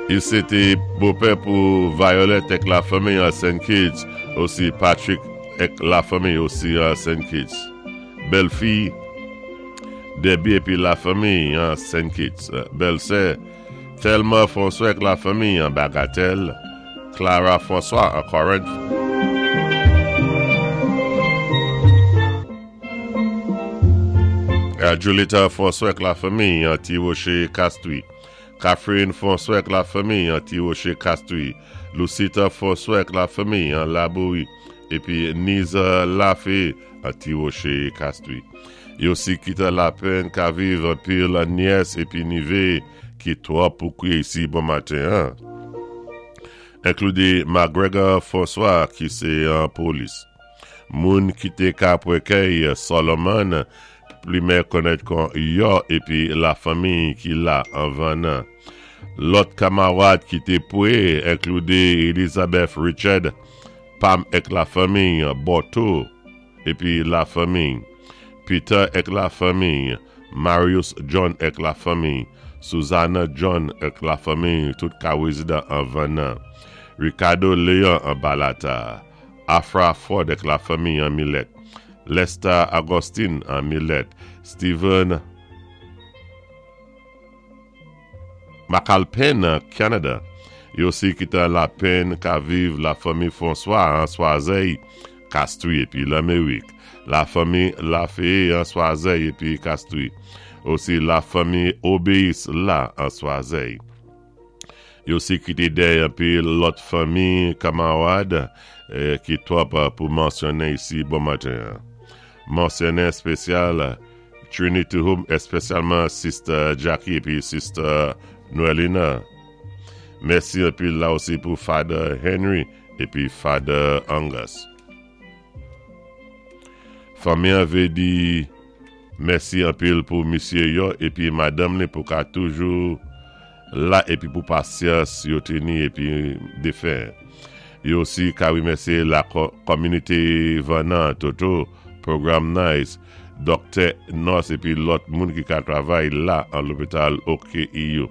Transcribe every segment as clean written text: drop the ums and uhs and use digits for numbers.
I sé té bopè pou Violet èk lafanmiy an Saint Kitts, osi Patrick èk lafanmiy osi an Saint Kitts. Bèlfi Debbie épi lafanmiy an Saint Kitts. Bèlsè Thelma François èk lafanmiy an Bagatelle, Clara François an Corinth. Julitta François èk lafanmiy an Ti Woche Castries. Catherine François èk lafanmiy an Ti Woche Castries. Lucita François èk lafanmiy an Labouri épi Niza Lafe an Ti Woche Castries. Yo si kité lapenn ka viv anpil nyès épi nivé ki twòp pou kwié isi bon maten an. Enklude McGregor François ki sé an polis. Moun ki té ka pwékèy Solomon plimè konnèt kon Yò épi lafanmiy ki la anvan nan. Lòt kamawad ki té pwé enklude Elizabeth Richard, Pam èk lafanmiy, Bòto épi lafanmiy, Peter èk lafanmiy, Marius John èk lafanmiy, Susanna John èk lafanmiy tout ka rézidan anvan nan, Ricardo Léon an Balata, Afra Ford èk lafanmiy an Milèt, Lester Augustine an Milèt, Steven McAlpin an Canada. Yo si ki te lapenn ka viv lafanmi François an Swazèy, Castries épi Lanmérik, lafanmi Lafeye an Swazèy épi Castries, osi lafanmi Obéis la an Swazèy. Yo si kité dèyè anpil lòt fanmi, kamawad ki twòp pou mansyonnen isi bon maten an. Mansyonnen éspésyal Trinity Home éspesyalman Sister Jackie épi Sister Noelina. Mèsi anpil la osi pou Father Henry épi Father Angus. Fanmi an vé di mèsi anpil pou misye yo épi madanm li pou ka toujou la épi pou pasyans yo teni épi defen. Yo osi ka remèsyé la kòminité Vannan, Toto, Program Nice, dòktè, nòs épi lòt moun ki ka travay la an lopital OKEU,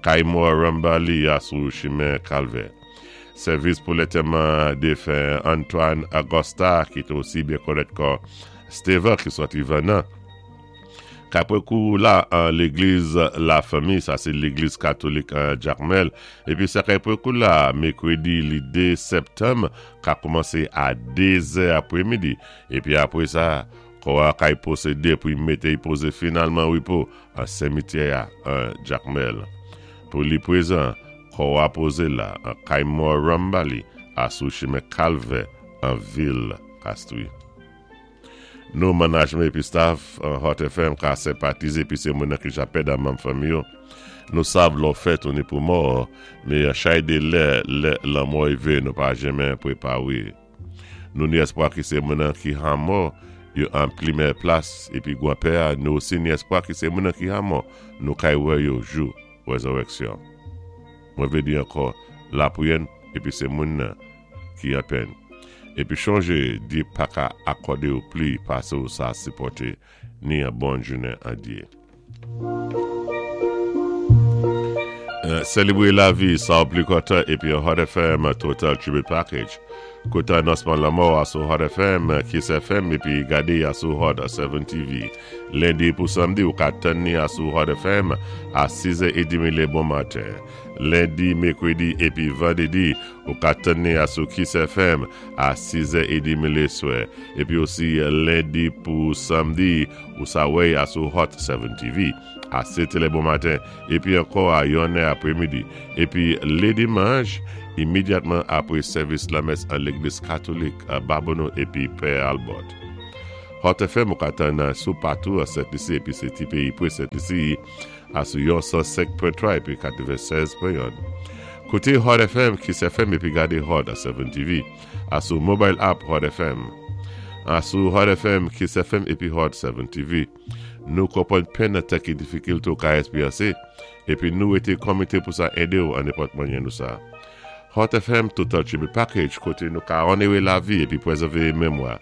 Kay Mò Rambali a sou chimen Kalvè. Sèvis pou lantèman defen Antoine Augusta ki te osi byen konnèt kon Stevan ki sòti Vannan. Kapre kou la an legliz La Fanmi, sa se legliz katolik an Jakmèl, epi sa kapre kou la mekredi li 2 septanm ka koumanse a 2 zè apremidi, epi apre sa kò a kay pwosede pou y mete y poze finalman repo an semityè a an Jakmèl. Pou li prezan, kò a poze la an kay mò Rambali a sou chimen Kalvè an vil Kastri. Nou manajmen epi staff Hot FM ka senpatize epi se moun nan ki ja pèd a manm fanmi yo. Nou sav lò fèt ou ni pou mò, me chay de lè lè lanmò rive nou pa jenmen prepare. Nou ni espwa ki se moun nan ki ha mò yo an plimè plas epi gwanpè a nou osi ni espwa ki se moun nan ki ha mò nou kay wè yo jou rezòrèksyon. Mwen vle di ankò lapriyè n epi se moun nan ki anpèn. Epi chonje Dye paka akòde ou pli pase ou sa sipòte ni an bòn jounen an Dye. Selebre lavi sa ou pli kontan epi an Hot FM Total Tribute Package. Koute anonsman lanmò a sou Hot FM, Kiss FM epi gade a sou Hot 7 TV. Lendi pou samdi ou ka tann ni a sou Hot FM a 6 è edemi le bon maten. Lendi, mekredi epi vandredi ou ka tann ni a sou Kiss FM a 6 è edemi le swè. Epi osi lendi pou samdi ou sa wè a sou Hot 7 TV a 7 è le bon maten epi ankò a 1 è apremidi. Epi le dimanch imedyatman apre sèvis lamès an legliz katolik Babonneau epi Pè Albert. Hot FM ou ka tann sou patou an Sent Lisi epi se ti peyi pre Sent Lisi a sou yon 105.3 epi 96.1. Koute Hot FM, Kiss FM epi gade Hot 7 TV a sou mobile app Hot FM. A sou Hot FM, Kiss FM epi Hot 7 TV. Nou konprann penn nan tan ki difikilte ou ka esperyanse epi nou rete komite pou sa ede ou an nenpòt mannyè nou sa. Hot FM Total Tribute Package kote nou ka onere lavi epi prezève memwa.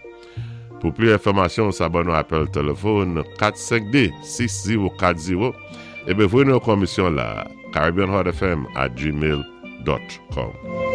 Pou pli enfòmasyon sa ban nou apèl telefòn 452 6040. Ébi, voyé nou yon komisyon la, caribbeanheartfm@gmail.com.